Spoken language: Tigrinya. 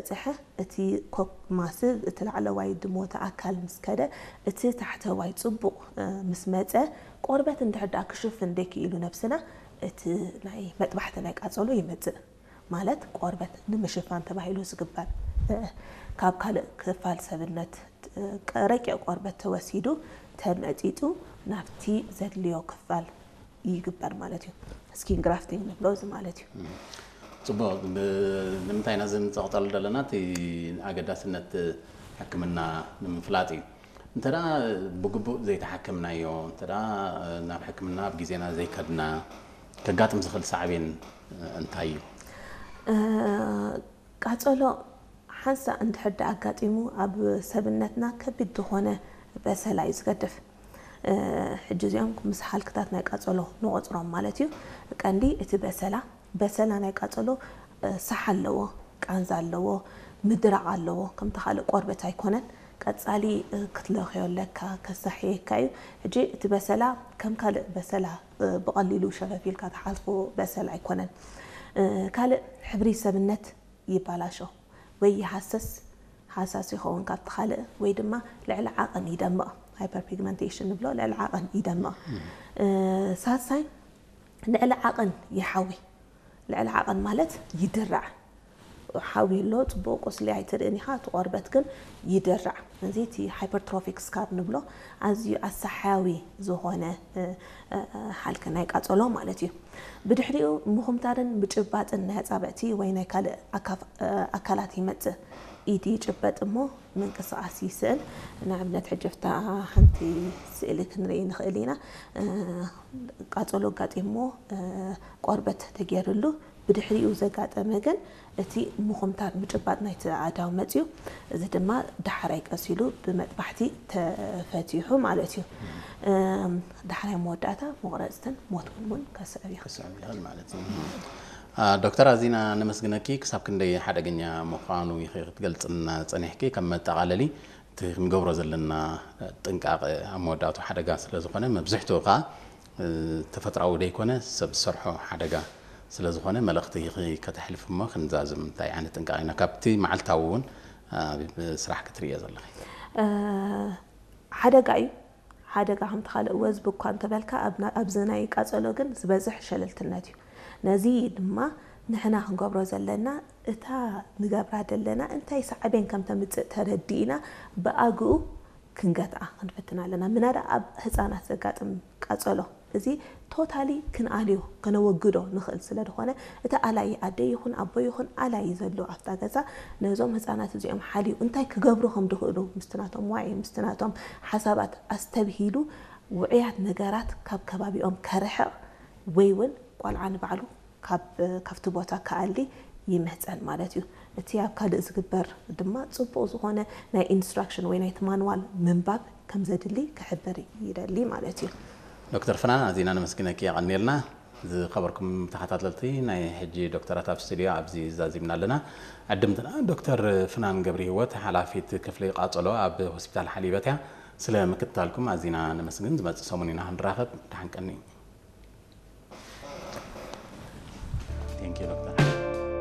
ጽሐ እቲ ኮክ ማስል እቲ ላዕለዋይ ድሞተ ኣካል ምስ ከደ እቲ ታሕተዋይ ጽቡቕ ምስ መጸ ቆርበት እንድሕር ደኣ ክሽፍን ደይክኢሉ ነብስና እቲ ናይ መጥባሕቲ ናይ ቃጸሎ ይመጽእ። ማለት ቆርበት ንምሽፋን ተባሂሉ ዝግበር ካብ ካልእ ክፋል ሰብነት ረቂቕ ቆርበት ተወሲዱ ተመጢጡ ናብቲ ዘድልዮ ክፋል ይግበር ማለት እዩ። ስኪን ግራፍቲንግ ንብሎ እዚ ማለት እዩ። ፅቡቅ። ንምንታይ ነዚ ንፀቕጠሉ ዘለና እቲ ኣገዳስነት ሕክምና ንምፍላጥ እዩ። እንተ ብግቡእ ዘይተሓከምናዮ፣ እንተ ናብ ሕክምና ኣብ ግዜና ዘይከድና ከጋጥም ዝኽእል ሳዕቤን እንታይ እዩ? ቃጸሎ ሓንሳእ እንድሕር ኣጋጢሙ ኣብ ሰብነትና ከቢድ ዝኾነ በሰላ እዩ ዝገድፍ። ሕጂ እዚኦም ምስ ሃልክታት ናይ ቃጸሎ ንቆጽሮም ማለት እዩ። ቀንዲ እቲ በሰላ በሰላ ናይ ቃጸሎ ሳሕ ኣለዎ፣ ቃንዛ ኣለዎ፣ ምድራቕ ኣለዎ። ከምቲ ካልእ ቆርበት ኣይኮነን። ቀጻሊ ክትለኽዮ ኣለካ፣ ከሳሕየካ እዩ። ሕጂ እቲ በሰላ ከም ካልእ በሰላ ብቐሊሉ ሸፈፍ ኢልካ ትሓልፎ በሰል ኣይኮነን። ካልእ ሕብሪ ሰብነት ይባላሾ ወይ ይሃሰስ፣ ሃሳስ ይኸውን ካብቲ ካልእ፣ ወይ ድማ ልዕሊ ዓቐን ይደምቕ፣ ሃይፐርፒግመንቴሽን ንብሎ፣ ልዕሊ ዓቐን ይደምቕ። ሳልሳይ ልዕሊ ዓቐን ይሓዊ። ልዕሊ ዓቐን ማለት ይድራዕ። ሓዊ ኣሎ፣ ጽቡቕ ቁስሊ ኣይትርእን ኢኻ፣ እቲ ቆርበት ግን ይድራዕ። እዚ እቲ ሃይፐርትሮፊክ ስካር ንብሎ ኣዝዩ ኣሳሓያዊ ዝኾነ ሓልኪ ናይ ቃጸሎ ማለት እዩ። ብድሕሪኡ ምኹምታርን ምጭባጥን ናይ ኣጻብዕቲ ወይ ናይ ካልእ ኣካላት ይመጽእ። ኢድ ይጭበጥ እሞ ምንቅስቓስ ይስእን። ንኣብነት ሕጂ ፍታ ሓንቲ ስእሊ ክንርኢ ንኽእል ኢና። ቃጸሎ ኣጋጢሞ ቆርበት ተገይርሉ ብድሕሪኡ ዘጋጠመ ግን እቲ ምኹምታር ምጭባጥ ናይቲ ኣእዳው መጽዩ፣ እዚ ድማ ዳሕራይ ቀስ ኢሉ ብመጥባሕቲ ተፈቲሑ ማለት እዩ። ዳሕራይ መወዳእታ መቑረጽትን ሞት እውን እውን ከስዕብ ይኽእል። ክስዕብ ይኽእል ማለት እዩ። ዶክተር ኣዚና ነመስግነኪ። ክሳብ ክንደይ ሓደገኛ ምዃኑ ኢኺ ክትገልጽልና ጸኒሕኪ። ከም መጠቓለሊ እቲ ክንገብሮ ዘለና ጥንቃቐ ኣብ መወዳእቱ ሓደጋ ስለ ዝኾነ መብዝሕትኡ ከዓ ተፈጥራዊ ደይኮነ ሰብ ዝሰርሖ ሓደጋ ስለ ዝኾነ መልእኽቲ ኢኺ ከተሕልፍ እሞ ክንዛዝም እንታይ ዓይነት ጥንቃቐ ኢና ካብቲ መዓልታዊ እውን ኣብ ስራሕ ክትርእዮ ዘለኺ? ሓደጋ እዩ። ሓደጋ ከምቲ ካልእ ወዝቢ እኳ እንተበልካ ኣብዚ ናይ ቃጸሎ ግን ዝበዝሕ ሸለልትነት እዩ። ነዚ ድማ ንሕና ክንገብሮ ዘለና እታ ንገብራ ዘለና እንታይ ሳዕቤን ከም ተምጽእ ተረዲእና ብኣግኡ ክንገትኣ ክንፍትን ኣለና። ምናዳ ኣብ ህፃናት ዘጋጥም ቃጸሎ እዚ ቶታሊ ክንኣልዮ ከነወግዶ ንኽእል ስለ ዝኾነ እቲ ኣላይ ኣደ ይኹን ኣቦ ይኹን ኣላይ ዘሎ ኣብታ ገዛ ነዞም ህፃናት እዚኦም ሓልዩ እንታይ ክገብሩ ከም ድኽእሉ ምስቲ ናቶም ዋዒ ምስቲ ናቶም ሓሳባት ኣስተብሂሉ ውዕያት ነገራት ካብ ከባቢኦም ከርሕቕ ወይ እውን ቆልዓ ንባዕሉ ካብቲ ቦታ ክኣሊ ይምህፀን ማለት እዩ። እቲ ኣብ ካልእ ዝግበር ድማ ፅቡቕ ዝኾነ ናይ ኢንስትራክሽን ወይ ናይቲ ማንዋል ምንባብ ከም ዘድሊ ክሕብር ይደሊ ማለት እዩ። ዶክተር ፍናን ኣዚና ነመስግነኪ የቐንየልና። ዝኸበርኩም ተኸታተልቲ ናይ ሕጂ ዶክተራት ኣብ ስቱዲዮ ኣብዚ ዛዚምና ኣለና። ዕድምትና ዶክተር ፍናን ገብረ ህይወት ሓላፊት ክፍሊ ቃጸሎ ኣብ ሆስፒታል ሓሊበት እያ። ስለ ምክትታልኩም ኣዚና ነመስግን። ዝመጽእ ሰሙን ኢና ክንራኸብ። ደሓን ቀኒ። Thank you ዶክተር።